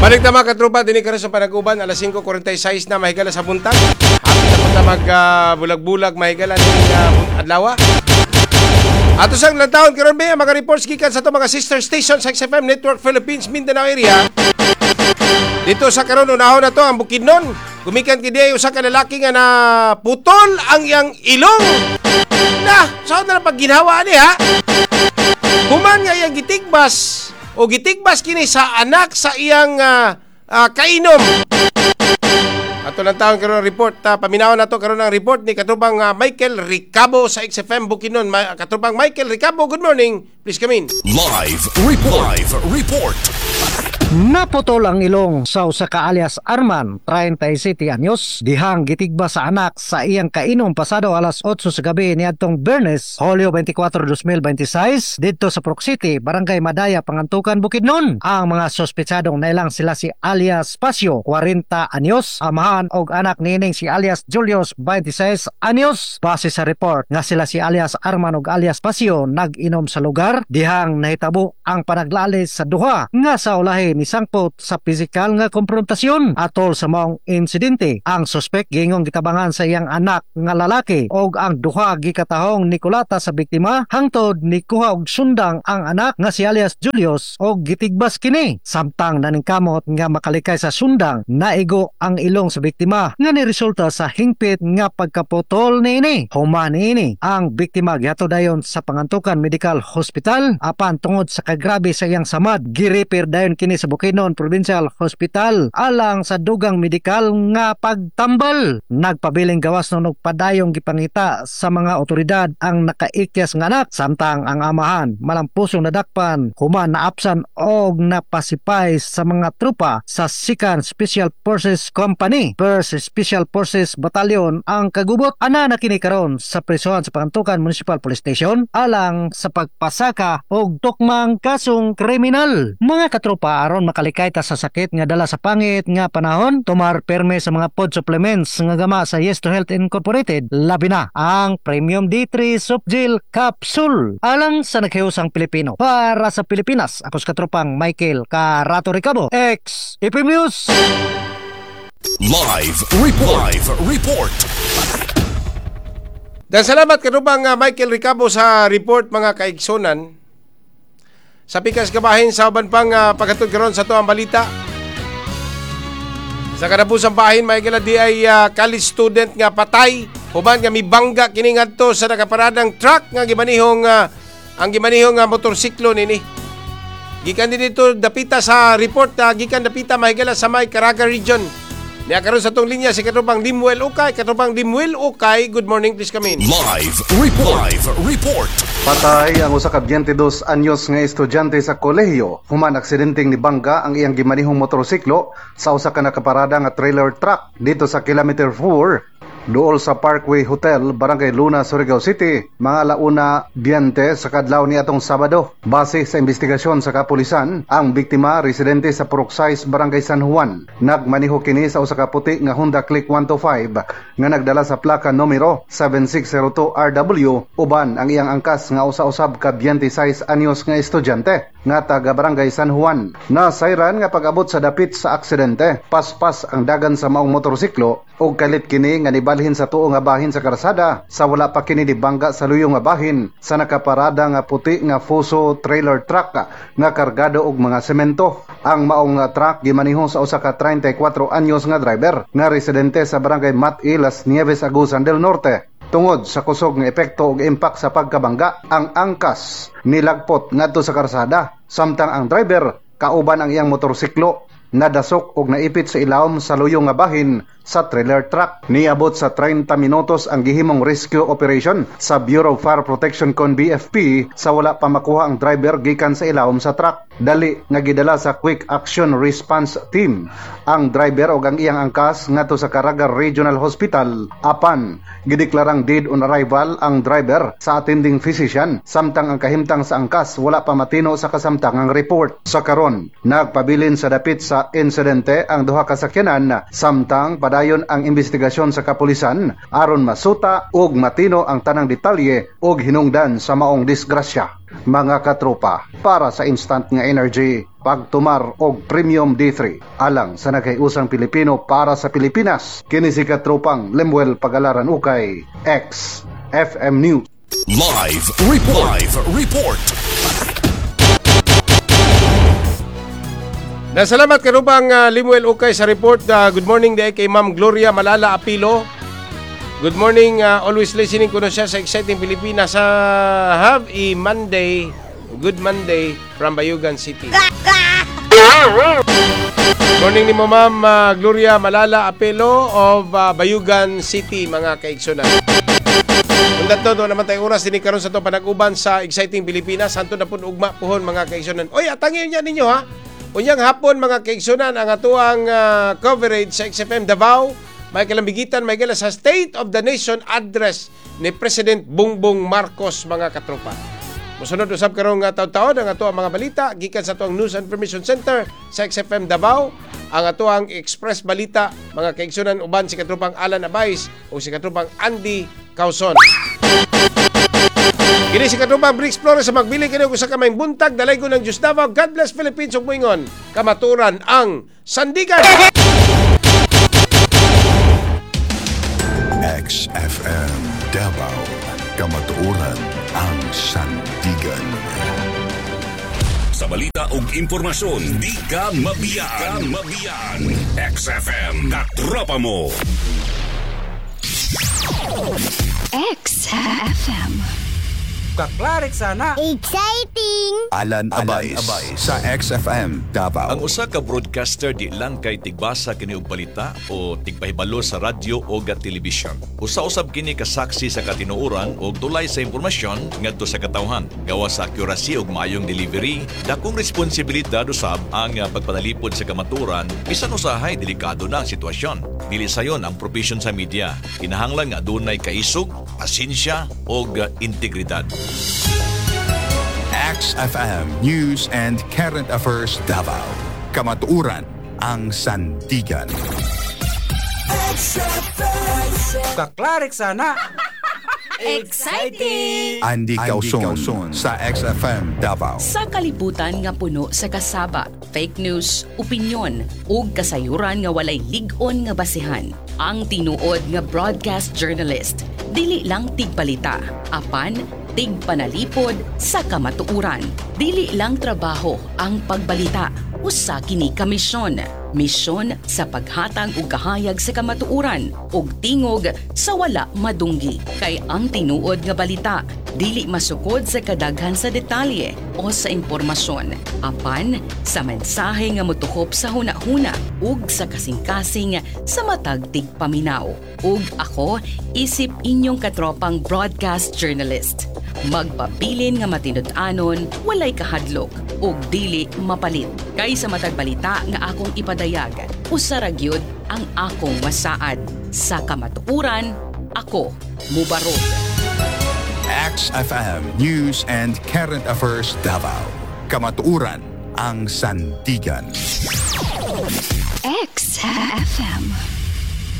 Balik ta, mga katropa, dinhi karon sa Panag-uban, alas 5:46 na mahigala sa buntag. Hapit na punta mag bulag-bulag mahigala ning adlaw. Ato sang lantawon karon be ang mga reports gikan sa ato mga sister station sa XFM Network Philippines Mindanao area. Dito sa karon, unahon na to ang Bukidnon. Gumikan kini usa ka lalaki nga na putol ang iyang ilong. Na, saan na pagginhawa ni ha? Human nga iyang gitigbas o gitigbas kini sa anak sa iyang kainom. Ato lang taon karon report, paminawon nato karon ang report ni katropang Michael Ricabo sa XFM Bukidnon. Katropang Michael Ricabo, good morning. Please come in. Live Report. Live Report. Naputol ang ilong sa usa ka alias Arman, 37 anyos, dihang gitigba sa anak sa iyang kainom pasado alas 8 sa gabi niadtong Biyernes, Hulyo 24, 2026, didto sa Prok City, Barangay Madaya, Pangantukan, Bukidnon. Ang mga sospetsadong nailang sila si alias Pasio, 40 anyos, amahan og anak niining si alias Julius, 26 anyos. Base sa report nga sila si alias Arman og alias Pasio nag-inom sa lugar dihang nahitabo ang panaglalis sa duha nga sa ulahi ni sangpot sa pisikal nga konfrontasyon. Atol sa maong insidente, ang suspek gingong gitabangan sa iyang anak nga lalaki og ang duha gikatahong nikulata sa biktima hangtod nikuha og sundang ang anak nga si alias Julius og gitigbas kini. Samtang naningkamot nga makalikay sa sundang, naigo ang ilong sa biktima nga niresulta sa hingpit nga pagkaputol niini. Human niini, ang biktima gihatod dayon sa Pangantukan Medical Hospital, apan tungod sa kagrabe sa iyang samad, gi-refer dayon kini sa Bukidnon Provincial Hospital alang sa dugang medikal nga pagtambal. Nagpabiling gawas no padayong gipangita sa mga otoridad ang nakaikyas nga anak, samtang ang amahan malampusong nadakpan human naapsan og napasipay sa mga tropa sa Second Special Forces Company, First Special Forces Battalion ang kagubot. Ana na kini karon sa presohan sa Pangantukan Municipal Police Station alang sa pagpasaka og tukmang kasong kriminal. Mga katropa, aron makalikay ta sa sakit nga dala sa pangit nga panahon, tumar perme sa mga food supplements nga gama sa Yes to Health Incorporated, labi na ang Premium D3 Softgel Capsule. Alang sa naghiusang Pilipino, para sa Pilipinas, ako sa katropang Michael Carato Ricabo, X FM News. Live Report. Live Report. Dan salamat katropang Michael Ricabo sa report, mga kaigsunan. Sa pikas kabahin sa uban pang paghatod karon sa atoang balita. Sa kadapusang bahin, Michael, di ay college student nga patay human nga mibangga kini ngadto sa nakaparadang truck nga gimanihong ang gimanihong nga motorsiklo nini. Gikan din dito dapita sa report, gikan dapita mahigala sa may Caraga region. Niya karon sa atong linya si katropang Limuel Ukay. Katropang Limuel Ukay, good morning, please come in. Live Report. Live Report. Patay ang usa ka 22 anyos nga estudyante sa kolehiyo human aksidenteng nibangga ang iyang gimanihong motorsiklo sa usa ka nakaparada nga trailer truck dito sa kilometer 4 duol sa Parkway Hotel, Barangay Luna, Surigao City, mga alauna 20 sa kadlaw ni atong Sabado. Base sa investigasyon sa kapulisan, ang biktima residente sa Purok 6, Barangay San Juan. Nagmaniho kini sa usa ka puti nga Honda Click 125 nga nagdala sa plaka numero 7602 RW uban ang iyang angkas nga usa-usab ka 26 anyos nga estudyante nga taga Barangay San Juan. Nasayran nga pag-abot sa dapit sa aksidente, paspas ang dagan sa maong motorsiklo ug kalit kini nga nibalhin sa tuo nga bahin sa karsada sa wala pa kini nibangga sa luyo nga bahin sa nakaparada nga puti nga Fuso trailer truck nga kargado og mga semento. Ang maong truck gimaniho sa usa ka 34 anyos nga driver nga residente sa Barangay Mat-i, Las Nieves, Agusan del Norte. Tungod sa kusog nga epekto og impact sa pagkabangga, ang angkas nilagpot ngadto sa karsada samtang ang driver kauban ang iyang motorsiklo nadasok og naipit sa ilawom sa luyo nga bahin sa trailer truck. Niabot sa 30 minutos ang gihimong rescue operation sa Bureau of Fire Protection kon BFP sa wala pa makuha ang driver gikan sa ilawom sa truck. Dali nga gidala sa Quick Action Response Team ang driver og ang iyang angkas ngadto sa Caraga Regional Hospital, apan gideklarang dead on arrival ang driver sa attending physician samtang ang kahimtang sa angkas wala pa matino sa kasamtangang report. Sa karon, nagpabilin sa dapit sa insidente ang duha ka sakyanan samtang padayon Nagapadayon ang investigasyon sa kapulisan aron masuta ug matino ang tanang detalye ug hinungdan sa maong disgrasya. Mga katropa, para sa instant nga energy, pagtumar og Premium D3 alang sa naghiusang Pilipino para sa Pilipinas. Kini si katropang Lemuel Pagalaran Ukay, X FM News. Live Report. Live Report. Nasalamat karubang Limuel Ukay sa report. Good morning day kay Ma'am Gloria Malala Apilo. Good morning, always listening kuno siya sa Exciting Pilipinas. Have a Monday, good Monday from Bayugan City. Good morning ni mo, Ma'am Gloria Malala Apelo of Bayugan City, mga kaigsunan. Kung dato, doon naman tayo oras dinhi karon sa to panag-uban sa Exciting Pilipinas. Hantod na pud ugma puhon, mga kaigsunan. Oy, atangin niya ninyo ha. Unyang hapon, mga kaigsunan, ang atuang coverage sa XFM Davao. May kalambigitan, may gala sa State of the Nation Address ni President Bongbong Marcos, mga katropa. Musunod usab karong taon-taon ang atuang mga balita gikan sa atuang News and Information Center sa XFM Davao. Ang atuang Express Balita, mga kaigsunan, uban si katropang Alan Abais o si katropang Andy Causon. Kini si katropang Briggs Flores sa magbili kini og usa ka maayong buntag, dalaygon ng Diyos Davao. God bless Philippines ug moingon kamaturan ang sandigan. XFM Davao. Kamatuoran ang sandigan. Sa balita ug impormasyon, di ka mabiyaan. Di ka mabiyaan. XFM, katropa mo. XFM. Kaklarik sana. Exciting! Alan Abais, sa XFM Davao. Ang usa ka broadcaster di lang kay tigbasa kini og balita o tigpahibalo sa radyo o ga telebisyon. Usa-usab kini kasaksi sa katinuoran og tulay sa impormasyon ngadto sa katawhan. Gawas sa accuracy ug maayong delivery, dakong responsibilidad usab ang pagpanalipod sa kamatuoran bisan usahay delikado na ang sitwasyon. Dili sayon ang propesyon sa media. Kinahanglan nga adunay kaisog, pasensya ug integridad. XFM News and Current Affairs Davao. Kamatuoran ang sandigan. Kaklarik sana. Exciting! Andy Causon sa XFM Davao. Sa kalibutan nga puno sa kasaba, fake news, opinyon, ug kasayuran nga walay lig-on nga basihan. Ang tinuod nga broadcast journalist, dili lang tigbalita, apan tigpanalipod sa kamatuoran. Dili lang trabaho ang pagbalita, usa kini ka misyon. Misyon sa paghatag og kahayag sa kamatuoran ug tingog sa wala madunggi. Kay ang tinuod nga balita dili masukod sa kadaghan sa detalye o sa impormasyon, apan sa mensahe nga motukop sa hunahuna ug sa kasing-kasing sa matag tigpaminaw. Ug ako isip inyong katropang broadcast journalist, magpabilin nga matinud-anon, walay kahadlok ug dili mapalit. Kay sa matag balita nga akong ipadayag, usa ra gyud ang akong masaad. Sa kamatuoran, ako mubarog. XFM News and Current Affairs Davao. Kamatuoran ang sandigan. XFM.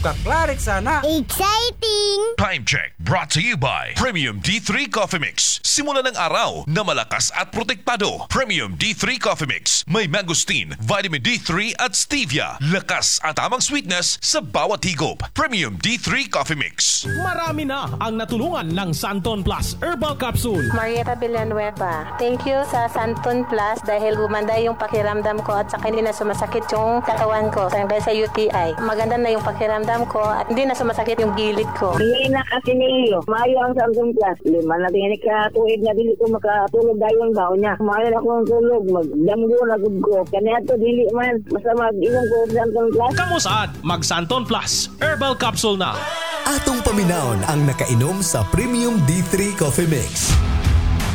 Kaklarik sana. Exciting! Time Check brought to you by Premium D3 Coffee Mix. Simula ng araw na malakas at protektado. Premium D3 Coffee Mix. May mangosteen, vitamin D3 at stevia. Lakas at tamang sweetness sa bawat higop. Premium D3 Coffee Mix. Marami na ang natulungan ng Santon Plus Herbal Capsule. Marietta Villanueva. Thank you sa Santon Plus dahil gumanda yung pakiramdam ko at saka hindi na sumasakit yung katawan ko dahil sa UTI. Maganda na yung pakiramdam ko at hindi na sumasakit yung gilid ko. Hindi na kasi niyo. Maayo ang Samsung Plus. 5 na tingin ka tuig na dili ko makatulog dayon ba unya. Maayo na akong tulog, magdamgo na gud ko. Kaniadto dili man basta mag-inom ko og Samsung Plus. Kamusad, mag Santon Plus Herbal Capsule na. Atong paminawon ang nakainom sa Premium D3 Coffee Mix.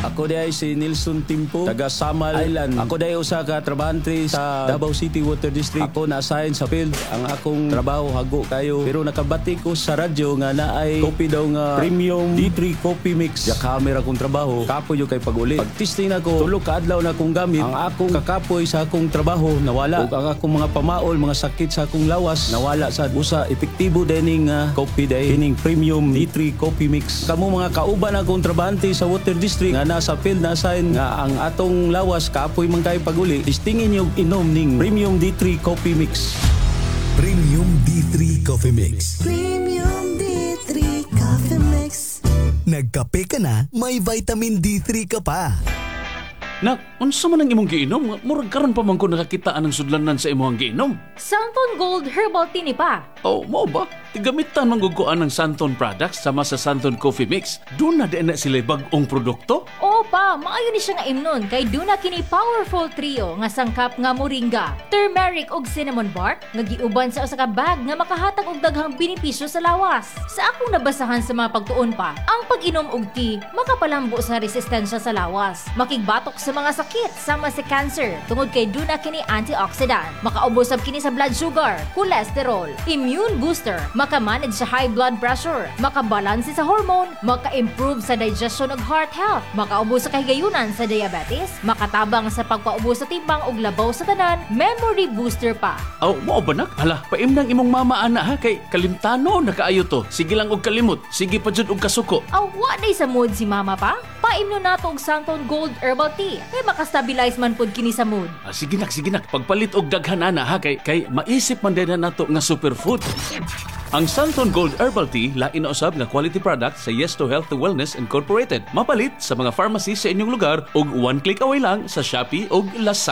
Ako diay si Nilson Timpo, taga Samal Island. Ako diay usa ka trabahante sa Davao City Water District. Ako na-assign sa field. Ang akong trabaho hago kayo. Pero nakabati ko sa radyo nga naay coffee daw nga Premium D3 Coffee Mix. Ya camera akong trabaho. Kapoy yung kay pag-uli. Pag testing nako, 3 ka adlaw na akong gamit. Ang akong kakapoy sa akong trabaho nawala. Ug ang akong mga pamaol, mga sakit sa akong lawas nawala sa usa epektibo dining coffee day kining Premium D3 Coffee Mix. Kamo mga kauban akong trabahante sa Water District nga nasa field na assign nga ang atong lawas kapoy man kayo pag-uli, testingin yung inom ning Premium D3 Coffee Mix. Premium D3 Coffee Mix. Premium D3 Coffee Mix. Nagkape ka na, may vitamin D3 ka pa. Nak, unsa man ang imong giinom? Murag karon pa man ko nakakita anang sudlanan sa imong giinom. Santon Gold Herbal Tea ni pa. Oh, mao ba? Tigamitan man gud ko anang Santon products sama sa Santon Coffee Mix. Duna di na sila bag-ong produkto? Oo pa, maayo ni siya nga imnon kay duna kini powerful trio nga sangkap nga moringa, turmeric ug cinnamon bark nga giuban sa usa ka bag nga makahatag og daghang benepisyo sa lawas. Sa akong nabasahan sa mga pagtuon pa, ang pag-inom og tea makapalambo sa resistensya sa lawas, makigbatok sa mga sakit sama sa cancer tungod kay duna kini antioxidant, makaubos sab kini sa blood sugar, cholesterol, immune booster, makamanage sa high blood pressure, makabalanse sa hormone, maka-improve sa digestion ug heart health, makaubos sa kahigayunan sa diabetes, makatabang sa pagpaubos sa timbang ug labaw sa tanan, memory booster pa. Aw, mao ba, nak? Hala, paimnang imong mama ana ha kay kalimtano na kaayo to. Sige lang og kalimot, sige pa jud og kasuko. Aw, wa day sa mood si mama pa? Paimno nato og Santon Gold Herbal Tea kay makastabilize man pud kini sa mood. Ah, sige nak, sige nak, pagpalit og daghan ana ha kay maisip man din na nato nga superfood. Ang Santon Gold Herbal Tea lain na usab nga quality product sa Yes to Health and Wellness Incorporated. Mapalit sa mga pharmacy sa inyong lugar ug one click away lang sa Shopee ug Lazada.